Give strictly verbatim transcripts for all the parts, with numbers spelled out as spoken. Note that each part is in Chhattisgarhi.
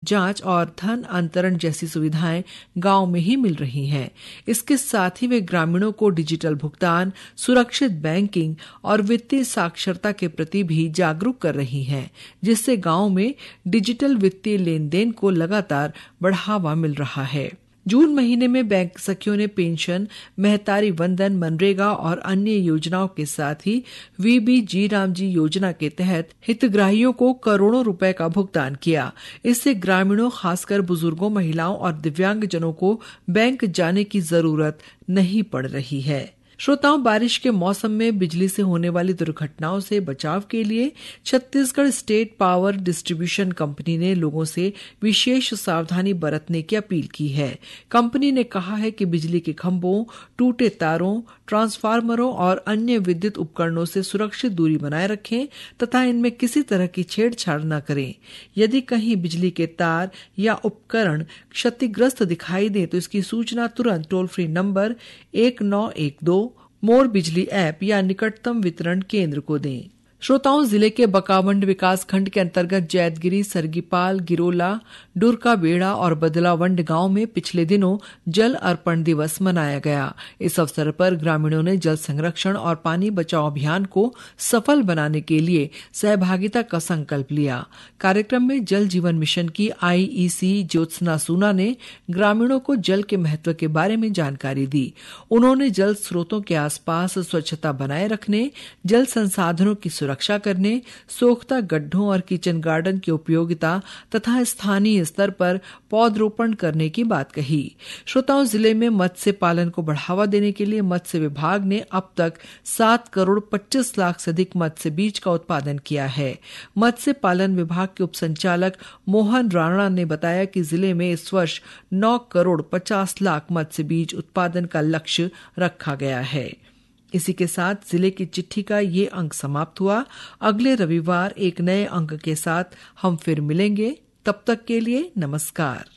जांच और धन अंतरण जैसी सुविधाएं गांव में ही मिल रही हैं। इसके साथ ही वे ग्रामीणों को डिजिटल भुगतान, सुरक्षित बैंकिंग और वित्तीय साक्षरता के प्रति भी जागरूक कर रही हैं, जिससे गांव में डिजिटल वित्तीय लेन देन को लगातार बढ़ावा मिल रहा है। जून महीने में बैंक सखियों ने पेंशन, महतारी वंदन, मनरेगा और अन्य योजनाओं के साथ ही वीबी जी राम जी योजना के तहत हितग्राहियों को करोड़ों रुपए का भुगतान किया। इससे ग्रामीणों, खासकर बुजुर्गों, महिलाओं और दिव्यांगजनों को बैंक जाने की जरूरत नहीं पड़ रही है। श्रोताओं, बारिश के मौसम में बिजली से होने वाली दुर्घटनाओं से बचाव के लिए Chhattisgarh state power distribution company ने लोगों से विशेष सावधानी बरतने की अपील की है। कंपनी ने कहा है कि बिजली के खंभों, टूटे तारों, ट्रांसफार्मरों और अन्य विद्युत उपकरणों से सुरक्षित दूरी बनाए रखें तथा इनमें किसी तरह की छेड़छाड़ न करें। यदि कहीं बिजली के तार या उपकरण क्षतिग्रस्त दिखाई दें, तो इसकी सूचना तुरंत टोल फ्री नंबर एक नौ एक दो, मोर बिजली ऐप या निकटतम वितरण केंद्र को दें। श्रोताओं, जिले के बकावंड विकास खंड के अंतर्गत जैतगिरी, सरगीपाल, गिरोला, डुरका बेड़ा और बदलावंड गांव में पिछले दिनों जल अर्पण दिवस मनाया गया। इस अवसर पर ग्रामीणों ने जल संरक्षण और पानी बचाओ अभियान को सफल बनाने के लिए सहभागिता का संकल्प लिया। कार्यक्रम में जल जीवन मिशन की आईईसी ज्योत्सना सूना ने ग्रामीणों को जल के महत्व के बारे में जानकारी दी। उन्होंने जल स्रोतों के आसपास स्वच्छता बनाए रखने, जल संसाधनों की सुरक्षा करने, सोख्ता गड्ढों और किचन गार्डन की उपयोगिता तथा स्थानीय स्तर पर पौधरोपण करने की बात कही। श्रोताओं, जिले में मत्स्य पालन को बढ़ावा देने के लिए मत्स्य विभाग ने अब तक सात करोड़ पच्चीस लाख से अधिक मत्स्य बीज का उत्पादन किया है। मत्स्य पालन विभाग के उपसंचालक मोहन राणा ने बताया कि जिले में इस वर्ष नौ करोड़ पचास लाख मत्स्य बीज उत्पादन का लक्ष्य रखा गया है। इसी के साथ जिले की चिट्ठी का ये अंक समाप्त हुआ। अगले रविवार एक नए अंक के साथ हम फिर मिलेंगे। तब तक के लिए नमस्कार।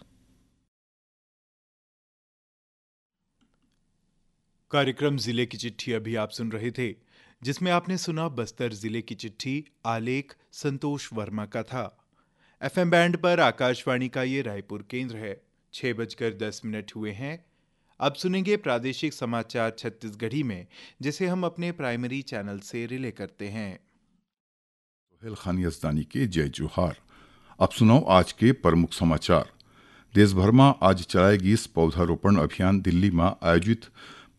कार्यक्रम जिले की चिट्ठी अभी आप सुन रहे थे, जिसमें आपने सुना बस्तर जिले की चिट्ठी, आलेख संतोष वर्मा का था। एफएम बैंड पर आकाशवाणी का ये रायपुर केंद्र है। छह बजकर दस मिनट हुए हैं। अब सुनेंगे प्रादेशिक समाचार छत्तीसगढ़ी में, जिसे हम अपने प्राइमरी चैनल से रिले करते हैं। सोहेल खान यजदानी के जय जोहार। अब सुनव आज के प्रमुख समाचार। देश भर म आज चलाए गिस पौधारोपण अभियान। दिल्ली म आयोजित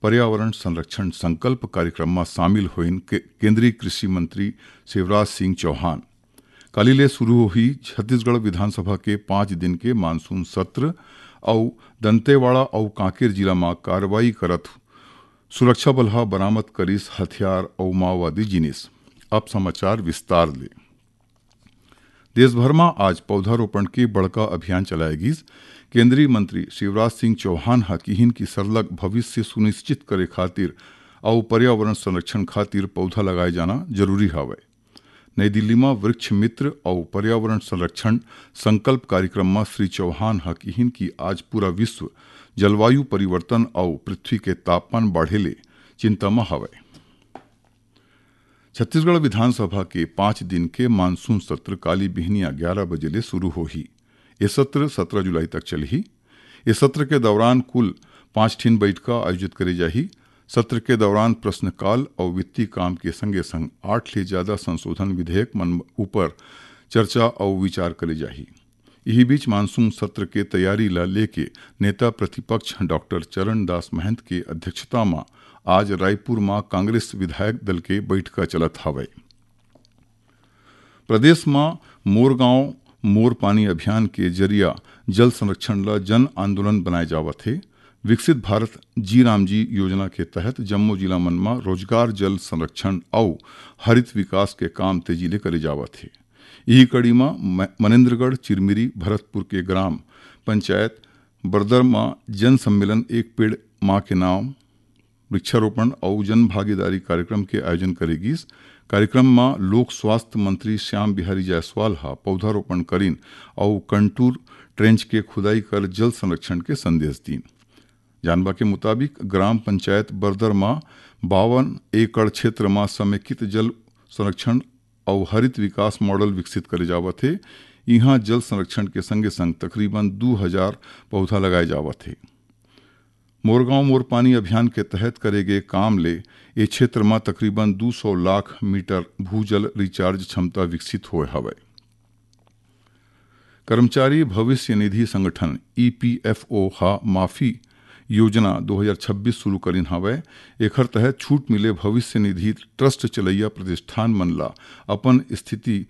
पर्यावरण संरक्षण संकल्प कार्यक्रम म शामिल होइन के-, केंद्रीय कृषि मंत्री शिवराज सिंह चौहान। काली ले शुरू होही छत्तीसगढ़ विधानसभा के पांच दिन के मानसून सत्र। अउ दंतेवाड़ा अउ कांकेर जिला म कार्रवाई करत सुरक्षा बल ह बरामद करिस हथियार अउ माओवादी जिनिस। अब समाचार विस्तार ले। देश भर म आज पौधारोपण के बड़का अभियान चलाए गिस। केंद्रीय मंत्री शिवराज सिंह चौहान ह किहिन कि सरलग भविष्य सुनिश्चित करे खातिर अउ पर्यावरण संरक्षण खातिर पौधा लगाए जाना जरूरी हवय। नई दिल्ली म वृक्ष मित्र अउ पर्यावरण संरक्षण संकल्प कार्यक्रम म श्री चौहान ह किहिन कि आज पूरा विश्व जलवायु परिवर्तन अउ पृथ्वी के तापमान बाढ़े ले चिंता म हवय। छत्तीसगढ़ विधानसभा के पांच दिन के मानसून सत्र काली बिहनिया ग्यारह बजे ले शुरू होही। ये सत्र सत्रह जुलाई तक चलही। ये सत्र के दौरान कुल पांच ठिन बैठका आयोजित करे जाही। सत्र के दौरान प्रश्नकाल अउ वित्तीय काम के संगे संग आठ ले ज्यादा संशोधन विधेयक मन ऊपर चर्चा अउ विचार करे जाही। इही बीच मानसून सत्र के तैयारी ला लेके नेता प्रतिपक्ष डॉक्टर चरणदास महंत के अध्यक्षता म आज रायपुर म कांग्रेस विधायक दल के बैठका चलत हवय। प्रदेश म मोर गांव मोर पानी अभियान के जरिया जल संरक्षण ल जन आंदोलन बनाए जावत हे। विकसित भारत जी राम जी योजना के तहत जम्मो जिला मन म रोजगार, जल संरक्षण अउ हरित विकास के काम तेजी ले करे जावत हे। इही कड़ी म म-, मनेंद्रगढ़ चिरमिरी भरतपुर के ग्राम पंचायत बरदर म जन सम्मेलन एक पेड़ मां के नाम वृक्षारोपण अउ जन भागीदारी कार्यक्रम के आयोजन करे गिस। कार्यक्रम म लोक स्वास्थ्य मंत्री श्याम बिहारी जायसवाल ह पौधारोपण करिन अउ कंटूर ट्रेंच के खुदाई कर जल संरक्षण के संदेश दीन। जानबा के मुताबिक, ग्राम पंचायत बरदर म बावन एकड़ क्षेत्र म समेकित जल संरक्षण अउ हरित विकास मॉडल विकसित करे जावत हे। इहां जल संरक्षण के संगे संग तकरीबन दू हजार पौधा लगाए जावत हे। मोर गांव मोर पानी अभियान के तहत करे गे काम ले ए क्षेत्र म तकरीबन दू सौ लाख मीटर भूजल रिचार्ज क्षमता विकसित होए हवय। कर्मचारी भविष्य निधि संगठन, ईपीएफओ, ह माफी योजना दो हज़ार छब्बीस शुरू करिन हवय। एखर तहत छूट मिले भविष्य निधि ट्रस्ट चलैया प्रतिष्ठान मन ला अपन स्थिति